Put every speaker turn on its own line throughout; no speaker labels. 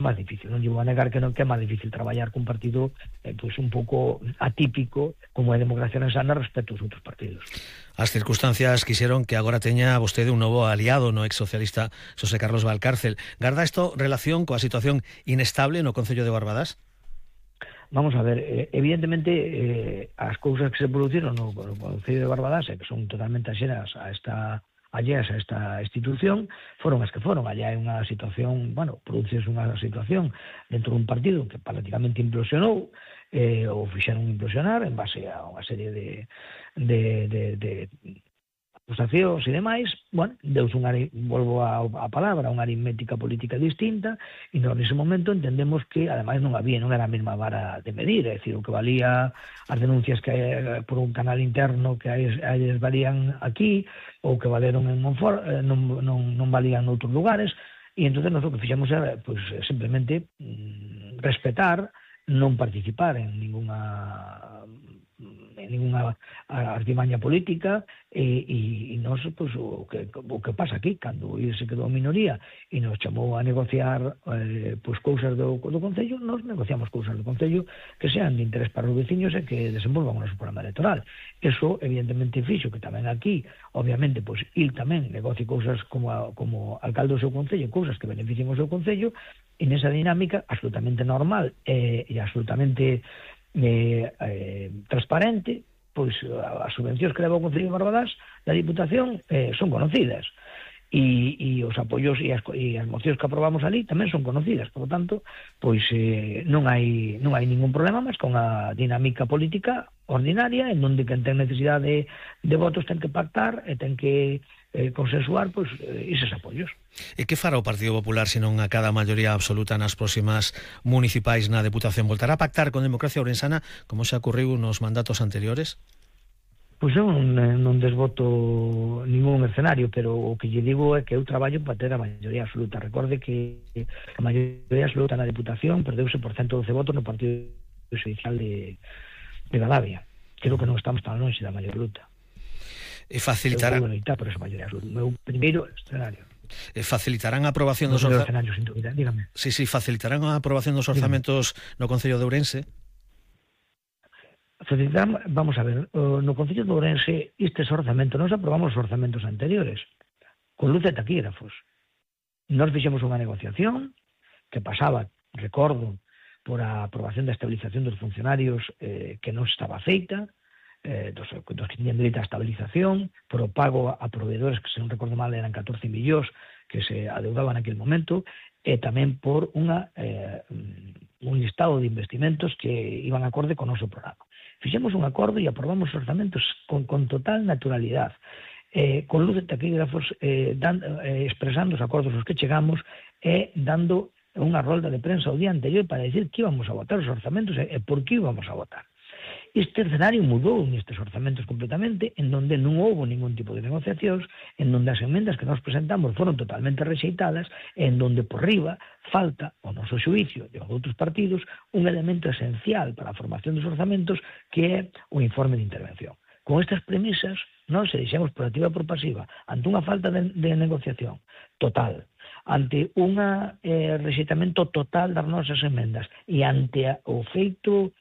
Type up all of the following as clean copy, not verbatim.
máis difícil. Non lle vou a negar que non, que é máis difícil traballar cun partido pois un pouco atípico como é a Democracia Ourensana respecto aos outros partidos.
As circunstancias quixeron que agora teña vostede un novo aliado no ex socialista Xosé Carlos Valcárcel. Garda isto relación coa situación inestable no Concello de Barbadas?
Vamos a ver, evidentemente as cousas que se produciron no Concello de Barbadas, que son totalmente axenas a esta institución, foron as que foron. Allá hai unha situación, produciuse unha situación dentro dun partido que prácticamente implosionou, ou fixeron implosionar en base a unha serie de acusacións e demais. Deus volvo a palabra, unha aritmética política distinta, e nós nese momento entendemos que ademais non era a mesma vara de medir, é dicir, o que valía as denuncias que hai por un canal interno que eles valían aquí, ou que valeron en Monfort, non valían noutros lugares, e entón nós o que fixemos era simplemente respetar, non participar en ninguna artimaña política, e nós, o que pasa aquí, cando se quedou a minoría e nos chamou a negociar cousas do Concello, nós negociamos cousas do Concello que sean de interés para os veciños e que desenvolvan o noso programa electoral. Eso evidentemente fixo que tamén aquí, obviamente, il tamén negocie cousas como alcalde do seu Concello, cousas que beneficien o seu Concello, e nesa dinámica absolutamente normal e absolutamente transparente, as subvencións que leva o Concello de Barbadas da Diputación son conocidas, e os apoios e as mocións que aprobamos ali tamén son conocidas. Por lo tanto, non hai ningún problema máis con a dinámica política ordinaria, en donde quen ten necesidade de votos ten que pactar e ten que consensuar eses apoios.
E que fará o Partido Popular se non acada a maioría absoluta nas próximas municipais na Deputación? Voltará a pactar con Democracia Ourensana como xa ocurriu nos mandatos anteriores?
Eu non desvoto ningún escenario, pero o que lle digo é que eu traballo para ter a maioría absoluta. Recorde que a maioría absoluta na Deputación perdeuse por 112 votos no Partido Judicial de Gavia. Creo que non estamos tan longe da maioría absoluta.
E facilitarán
por esa maioría absoluta. O meu primeiro escenario.
Facilitarán a aprobación dos orzamentos. Sí, facilitarán a aprobación dos orzamentos no Concello de Ourense.
Vamos a ver, no Concello de Ourense estes orzamentos, nós aprobamos os orzamentos anteriores con luz de taquígrafos. Nós fixemos unha negociación que pasaba, recordo, por a aprobación da estabilización dos funcionarios que non estaba feita, dos que tiñan dereito a estabilización, por o pago a proveedores que, se non recordo mal, eran 14 millóns que se adeudaban naquele momento, e tamén por un listado de investimentos que iban acorde con o noso programa. Fixemos un acordo e aprobamos os orzamentos con total naturalidade, con luz de taquígrafos, expresando os acordos aos que chegamos e dando unha rolda de prensa ao día anterior para decir que íbamos a votar os orzamentos e por que íbamos a votar. Este escenario mudou nestes orzamentos completamente, en donde non houbo ningún tipo de negociacións, en donde as emendas que nos presentamos foron totalmente rexeitadas, en donde por riba falta, ao noso xuicio de outros partidos, un elemento esencial para a formación dos orzamentos, que é o informe de intervención. Con estas premisas, non se deixamos por activa e por pasiva, ante unha falta de negociación total, ante un rexeitamento total das nosas emendas e ante o feito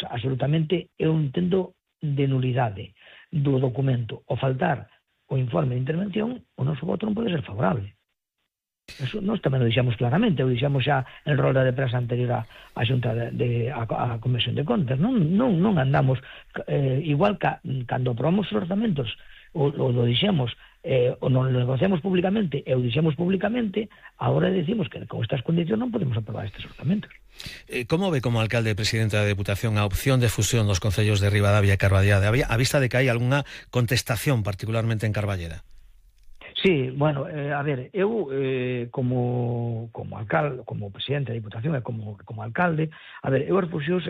absolutamente, eu entendo, de nulidade do documento, o faltar o informe de intervención, o noso voto non pode ser favorable. Eso nós tamén o dixamos claramente, o dixamos xa en rolda de prensa anterior á Xunta a Comisión de Contas. Non andamos igual que cando aprobamos os orzamentos, o dixemos, o non lo negociamos públicamente e o dixemos públicamente, agora decimos que con estas condicións non podemos aprobar estes orzamentos.
Como ve como alcalde e presidente da Deputación a opción de fusión dos concellos de Ribadavia e Carballeda, a vista de que hai algunha contestación particularmente en Carballeda?
Sí, bueno, a ver, eu como alcalde, como presidente da Diputación e como alcalde, a ver, eu as fusións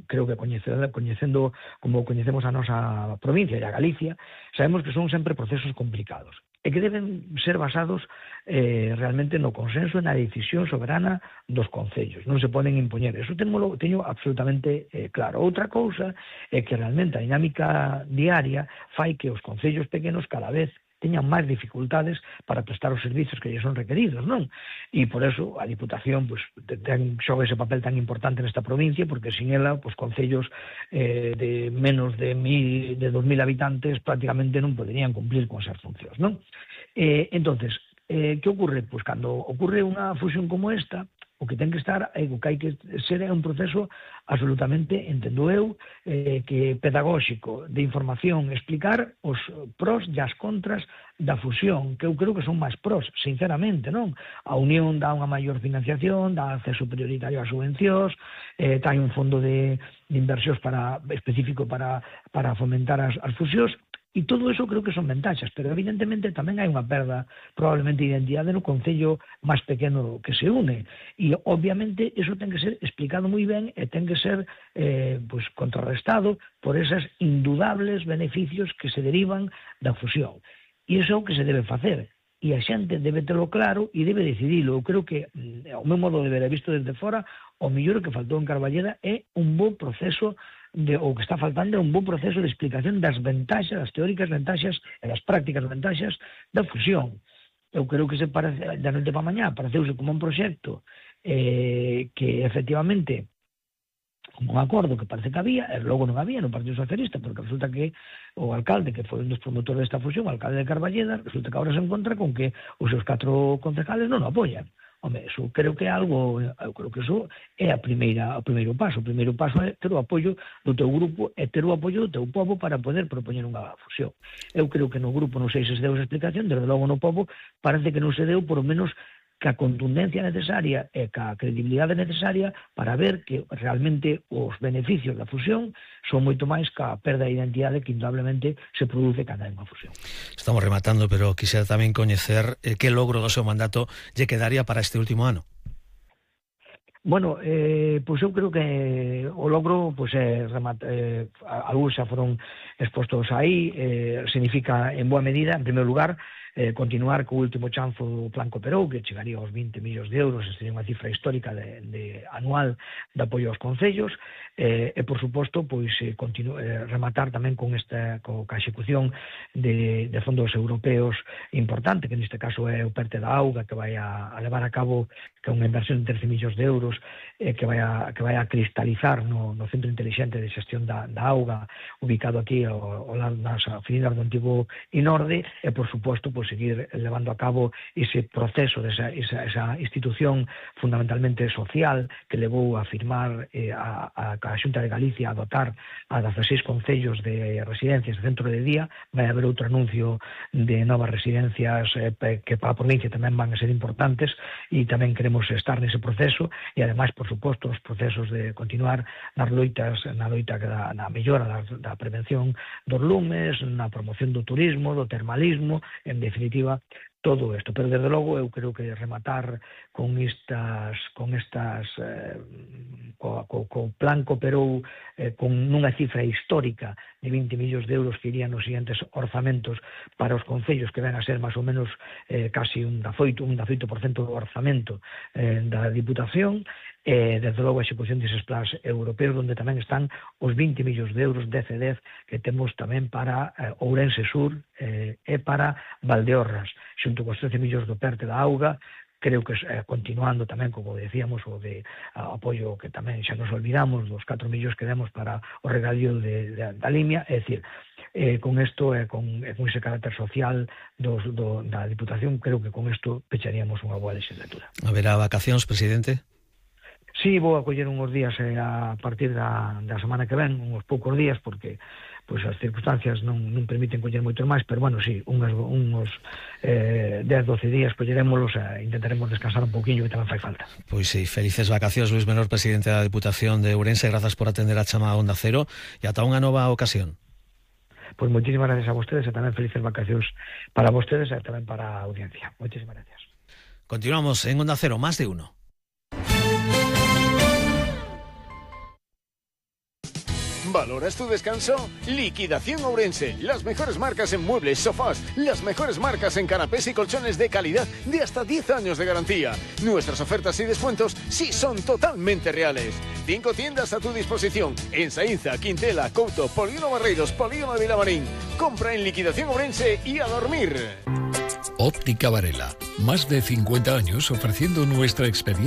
creo que coñecendo como coñecemos a nosa provincia e a Galicia, sabemos que son sempre procesos complicados e que deben ser basados realmente no consenso e na decisión soberana dos concellos, non se poden impoñer. Eso teño absolutamente claro. Outra cousa é que realmente a dinámica diaria fai que os concellos pequenos cada vez teñan máis dificultades para prestar os servizos que lle son requeridos, non? E por eso a Diputación pois, xoga ese papel tan importante nesta provincia, porque sin ela, pois, concellos de menos de 2.000 habitantes prácticamente non poderían cumplir con esas funcións, non? Entonces, que ocorre? Pois cando ocorre unha fusión como esta, o que ten que estar, o que hai que ser é un proceso absolutamente, entendo eu, que pedagóxico, de información, explicar os pros e as contras da fusión, que eu creo que son máis pros, sinceramente, non? A Unión dá unha maior financiación, dá acceso prioritario ás subvencións, ten un fondo de inversións específico para fomentar as fusións, e todo eso creo que son ventaxas, pero evidentemente tamén hai unha perda probablemente de identidade no concello máis pequeno que se une, e obviamente eso ten que ser explicado moi ben e ten que ser pois, contrarrestado por esas indudables beneficios que se derivan da fusión. E iso é o que se debe facer, e a xente debe terlo claro e debe decidilo. Eu creo que, ao meu modo de ver, visto desde fora, o mellor que faltou en Carballeda é un bo proceso o que está faltando é un bon proceso de explicación das ventaxas, das teóricas ventaxas e das prácticas ventaxas da fusión. Eu creo que se parece, da noite para mañá, pareceuse como un proxecto que efectivamente, como un acordo que parece que había, e logo non había no Partido Socialista, porque resulta que o alcalde, que foi un dos promotores desta fusión, o alcalde de Carballeda, resulta que agora se encontra con que os seus 4 concejales non o apoian. Home, eso creo que é algo, eu creo que eso é o primeiro paso. O primeiro paso é ter o apoio do teu grupo e ter o apoio do teu povo para poder propoñer unha fusión. Eu creo que no grupo non sei se deu esa explicación, desde logo no povo parece que non se deu, por lo menos ca contundencia necesaria e ca credibilidade necesaria para ver que realmente os beneficios da fusión son moito máis ca perda de identidade que indudablemente se produce cando hai unha fusión.
Estamos rematando, pero quixera tamén coñecer que logro do seu mandato lle quedaría para este último ano.
Bueno, pois eu creo que o logro, pois algúns xa foron expostos aí, significa en boa medida, en primeiro lugar, continuar co último chanzo do Plan Cooperou, que chegaría aos 20 millóns de euros, sería unha cifra histórica de anual de apoio aos concellos, e por suposto, pois rematar tamén con a execución de fondos europeos importante, que neste caso é o PERTE da auga, que vai a levar a cabo, que é unha inversión de 13 millóns de euros, que vai a cristalizar no Centro Inteligente de Xestión da auga, ubicado aquí ao lado das oficinas do antigo Inorde, e por suposto, seguir levando a cabo ese proceso, esa institución fundamentalmente social que levou a firmar a Xunta de Galicia a dotar a 16 concellos de residencias de centro de día. Vai haber outro anuncio de novas residencias que para a provincia tamén van a ser importantes, e tamén queremos estar nese proceso, e ademais, por suposto, os procesos de continuar na loita na mellora da prevención dos lumes, na promoción do turismo, do termalismo, en definitiva, todo isto. Pero, desde logo, eu creo que rematar con co Plan Cooperou con unha cifra histórica de 20 millóns de euros que irían nos siguientes orzamentos para os concellos, que ven a ser máis ou menos casi un 18% do orzamento da Diputación, desde logo a execución deses plans europeos, onde tamén están os 20 millóns de euros de CEDEF que temos tamén para Ourense Sur e para Valdeorras, xunto cos 13 millóns do PERTE da auga. Creo que continuando tamén, como decíamos, o de apoio que tamén xa nos olvidamos dos 4 millóns que demos para o regadío da Limia. É dicir, con isto e con ese carácter social da Diputación, creo que con isto pecharíamos unha boa legislatura.
Haberá vacacións, presidente?
Sí, vou a coller unhos días a partir da semana que ven, uns poucos días, porque pois as circunstancias non permiten coller moitos máis, pero bueno, sí, uns 10-12 días collerémolos e intentaremos descansar un pouquiño, que tamén fai falta.
Pois sí, felices vacacións, Luis Menor, presidente da Diputación de Ourense, grazas por atender a chamada Onda Cero e ata unha nova ocasión.
Pois moitísimas gracias a vostedes e tamén felices vacacións para vostedes e tamén para a audiencia. Moitísimas gracias.
Continuamos en Onda Cero, más de uno.
¿Valoras tu descanso? Liquidación Ourense. Las mejores marcas en muebles, sofás, las mejores marcas en canapés y colchones de calidad de hasta 10 años de garantía. Nuestras ofertas y descuentos sí son totalmente reales. 5 tiendas a tu disposición en Saínza, Quintela, Couto, Polígono Barreiros, Polígono de Vilamarín. Compra en Liquidación Ourense y a dormir.
Óptica Varela. Más de 50 años ofreciendo nuestra experiencia